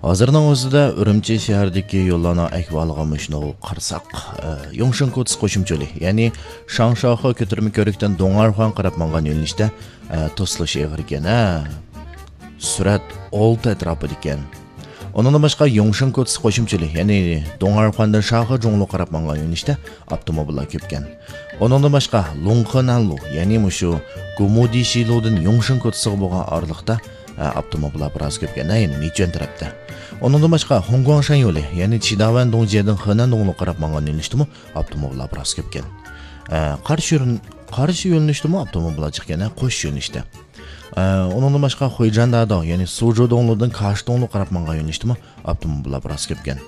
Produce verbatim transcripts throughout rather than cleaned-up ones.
ھازىرنىڭ ئۆزىدە ئۈرۈمچى شەھىرىدىكى يوللارنىڭ ئەھۋالىغا مۇشۇنى قارىساق، ئە، يۇڭشېن كوتسى قوشۇمچە يولى، يەنى شاڭشياخې كۆتۈرمە كۆۋرۈكتىن دۇڭئەنخۇەن قاراپ ماڭغان يۆنىلىشتە، ئە، توسۇلۇشى ئېغىر ئىكەن، ھە. سۈرئەت ئالتە ئەتراپىدا ئىكەن. ئۇنىڭدىن باشقا، يۇڭشېن كوتسى قوشۇمچە يولى، يەنى دۇڭئەنخۇەندىن شاخې جۇڭلۇ قاراپ ماڭغان يۆنىلىشتە ئاپتوموبىللار كۆپكەن. ئۇنىڭدىن باشقا، لۇڭخېنەنلۇ، يەنى مۇشۇ گۇمۇدىشىلۇدىن يۇڭشېن كوتسىغا بولغان ئارىلىقتا، ئە، ئاپتوموبىللار بىراز كۆپكەن، ھە، يەنى مىچۈەن تەرەپتە. ئۇنىڭدىن باشقا، خۇڭگۇاڭشەن يولى، يەنى چىداۋەن دۇڭجيېدىن خېنەن دۇڭلۇ قاراپ ماڭغان يۆنىلىشتىمۇ ئاپتوموبىللار بىراز كۆپكەن. ئە، قارشى يۆن-، قارشى يۆنىلىشتىمۇ ئاپتوموبىللار جىقكەن، ھە، قوش يۆنىلىشتە. ئە، ئۇنىڭدىن باشقا، خۇيجاندادو، يەنى سۇجۇ دۇڭلۇدىن كاش دۇڭلۇ قاراپ ماڭغان يۆنىلىشتىمۇ ئاپتوموبىللار بىراز كۆپكەن.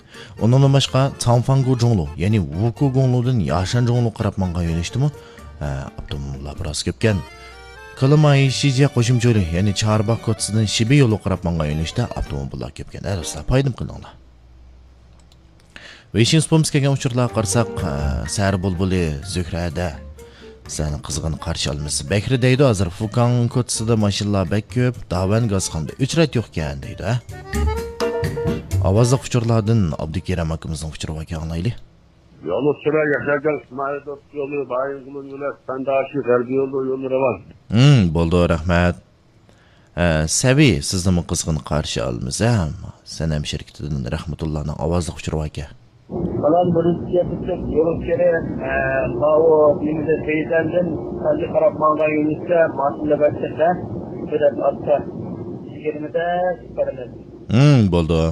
ئۇنىڭدىن باشقا، تاڭفاڭگۇ جۇڭلۇ، يەنى ۋۇكۇ گۇڭلۇدىن ياشان جۇڭلۇ قاراپ ماڭغان يۆنىلىشتىمۇ، ئە، ئاپتوموبىللار بىراز كۆپكەن. كىلىماي شىجيە قوشۇمچە يولى، يەنى چارباغ كوتسىدىن شىبى يولى قاراپ ماڭغان يۆنىلىشتە ئاپتوموبىللار كۆپكەن. ئە، دوستلار، پايدىم قىلىڭلار. ۋېيشىن سۇپىمىز كەلگەن ئۇچۇرلارغا قارىساق، ئە، سەھەر بۇلبۇلى زۆھرەدە سەن قىزغىن قارشى ئالىمىز. بەكرى دەيدۇ، ھازىر فۇكاڭ كوتسىدا ماشىنىلار بەك كۆپ، داۋەن گازخانىدا ئۆچرەت يوقكەن دەيدۇ، ھە؟ ئاۋازلىق ئۇچۇرلاردىن ئابدۇكېرەم ئاكىمىزنىڭ ئۇچۇرى باركەن، ئاڭلايلى. يولۇچىلار ياشارگان ئىسمائىل دوست يولى، بايىنغولىن يولى، سەنداشى غەربىي يولى، يولى راۋان. ھىم، بولدى، رەھمەت. ئە، سەۋى، سىزنىمۇ قىزغىن قارشى ئالىمىز، ھە؟ سەنەم شىركىتىدىن رەھمەتۇللانىڭ ئاۋازلىق ئۇچۇرى باركەن. سالام، بىرىنچى يەتكۈچۈك يولۇچىلىرى، ئە، ماۋۇ نېمىدە سەيدەندىن سانجى قاراپ ماڭغان يۆنىلىشتە ماشىنىلار بەك كۆپ، ھە؟ بىر ئاز ئاستا. يىگىرمىدە بارىمىز. ھىم، بولدى.